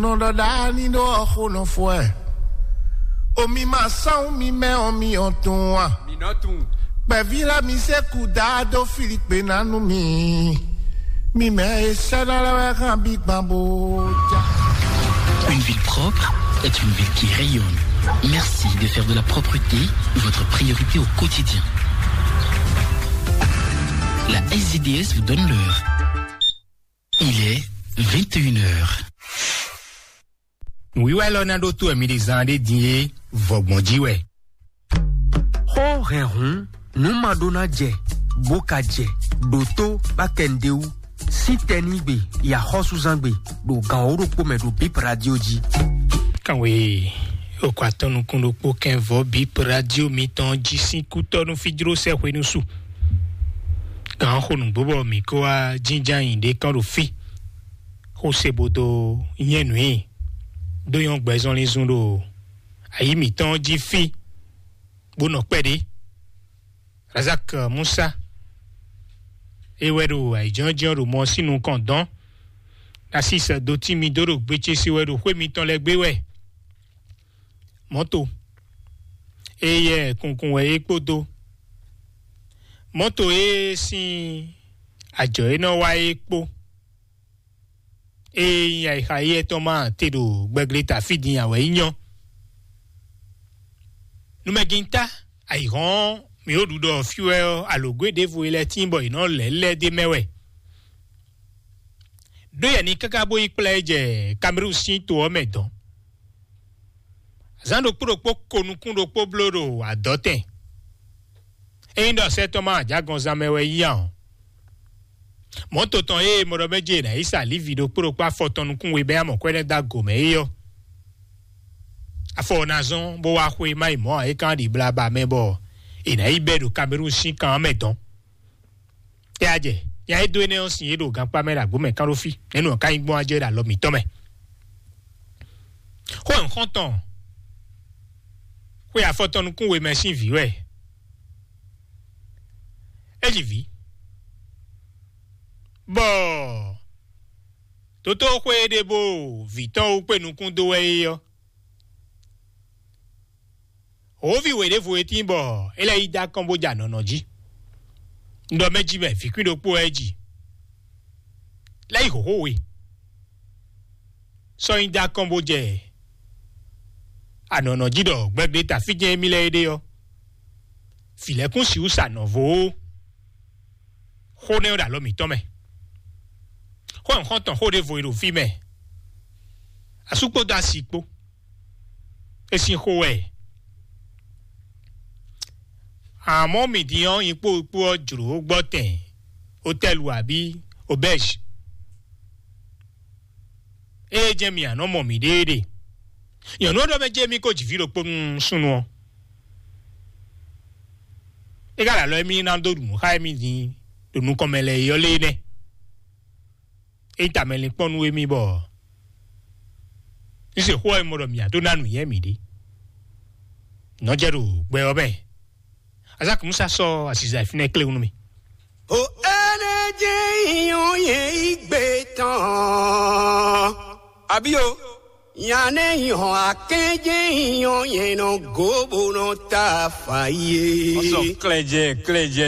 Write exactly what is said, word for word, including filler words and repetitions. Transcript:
Nɔ ɖɔ ɖa ní ɖó ɔxo nɔ fɔ ɛ. Omi ma sán mi mɛ ɔ mi ɔ tun a? Mi nɔ tun. Kpɛví la mi se ku da dó Filipe ná nú mi. Mi mɛ e sɛ́ ná lɛ́ wɛ hán bí gbán bó já. Une ville propre est une ville qui rayonne. Merci de faire de la propreté votre priorité au quotidien. La S D D S vous donne l'heure. Il est vingt et une heures. Nǔwiwa élɔ́ ná ɖó tó wɛ mi ɖe zán ɖé din é, vɔgbɔn jí wɛ. Xó hɛn hǔn, nǔ ma ɖó ná jɛ, bó ka jɛ, ɖo tó bá kɛ nǔɖé wú, sín tɛnígbe, yi axɔ́súzángbe, ɖo gan wǒ ɖokpó mɛ ɖo Bip Radio jí. Kanwe okɔ atɔn nukún ɖokpó kɛnvɔ Bip Radio mitɔn jí sín kútɔ́ nú fíjló sɛ́ hwenu su. Gǎn xo nǔgbó bɔ mǐ kó wá jínján nyi ɖě kán ɖo fí. Xó se bo dó nyɛ nǔ i dó nyɔ́ gbɛzɔnlin zun ɖo ayǐ mǐtɔn jí fí, bó nɔ kpɛɖé. Razak Musa, é wɛ ɖo ayǐjínjɔ́n ɖo mɔ sín nukɔn dɔn. Nasis dó tín mi dó ɖo gbécése wɛ ɖo xwé mitɔn lɛ́ɛ gbé wɛ. Mɔ̌to e yɛ kunkun wɛ é kpódó mɔ̌to e sín ajɔ e nɔ wa é kpó. Ée nyí ayixa éyɛ́ tɔn ma te ɖo gbɛgleta fí din ǎ wɛ é nyɔ́. Numɛgintá, ayǐhɔ́n mǐ ó ɖu ɖɔ fí wɛ ɔ́, alǒgwé ɖěvo e lɛ́ tíin bɔ è nɔ lɛ̌ lɛ́ d'é mɛ wɛ. Ɖó yɛ ni káká bó yi kplá ɛ jɛ Kamerun sín to ɔ́ mɛ dɔn. Zǎn ɖokpó ɖokpó ko nukún ɖokpó bló ɖo adɔ̌tɛn. Ényí ɖɔ sɛ́ tɔn ma ajǎgɔnzán mɛ wɛ yí ǎ ɔ́, mɔ̌to tɔn e mɔɖɔmɛ́ jɛ nǎ yi sa Livi ɖokpó ɖokpó afɔ tɔn nukún we bɛ́ amɔ̌ kwɛ́ nɛ́ dó agǒ mɛ é ɔ́, afɔ ɔ́ ná zɔ́n bó wá xwé má yi mɔ̌ ǎ, é kán ɖi blaba mɛ bɔ è nǎ yi bɛ́ ɖo Kamerun sín kan ɔ́ mɛ dɔn. Tɛ a jɛ nya e dó énɛ́ ɔ́ sin é ɖo gankpá mɛ ɖo agbǒ mɛ kán ɖó fí, nɛ̌ nǔ ɔ́ ka nyí gbɔn a jɛ ɖo alɔ mǐtɔn mɛ? Xó nyǐxɔ́ntɔn xwe afɔtɔn nukún we mɛ sín vǐ wɛ. É ji vǐ, bɔ dotóxwé e ɖe bó vǐ tɔn wú kpé nukún dó wɛ é ɔ́, hǒví wě ɖěvo e tíin bɔ é lɛ́ yi dó akɔ́n bó ja nɔ̌ nɔ jí. Un ɖɔ mɛ jí mɛ vǐkwín ɖokpó wɛ é ji, lɛ́ yi hǒxó we, sɔ́ nyi dó akɔ́n bó jɛ anɔ̌nɔ jí ɖɔ gbɛgbléta fí jɛ́n émí lɛ́ɛ é ɖe ɔ́, vǐ lɛ́ɛ kún sixú sa nɔ̌ vo ó. Xó nɛ́ ɔ́ ɖo alɔ mǐtɔn mɛ. Xó nyǐxɔ́ntɔn xó ɖěvo e ɖo fí mɛ, asú kpódó asi kpó, é sín xó wɛ. Amɔ̌ mǐ din ɔ́, nyikpó kpó ɔ́ jlǒ gbɔ́tɛn otɛ́lu abǐ obɛ́zi. Ée jɛ́n mǐ a nɔ mɔ mǐɖée ɖe. Nyɔ̌nu ɔ́ ɖɔ mɛ jɛ́n mì ko ji vǐ ɖokpó nú súnnu ɔ́. É ka ɖo alɔ émí ná dó ɖu nǔ xá émí din ɖo nukɔn mɛ lɛ́ɛ é ɔ́ lé nɛ́. É nyí tamɛ linkpɔ́n nú émí bɔ un se xó ɔ́ e mɔ ɖɔ mǐ a dó ná nǔnywɛ́ mǐɖée. Nɔ́ jɛ ɖo gbɛ ɔ́ mɛ. Azaki Musa sɔ́ aziza e fínɛ́ kléwún nú mì. O ene jɛ nyɔ yɛ igbe tɔn. Abi o. Nyane yɔ akɛ jɛ nyɔ yɛ nɔ go bo nɔ ta fa ye. Wọ́n sọ klɛjɛ klɛjɛ.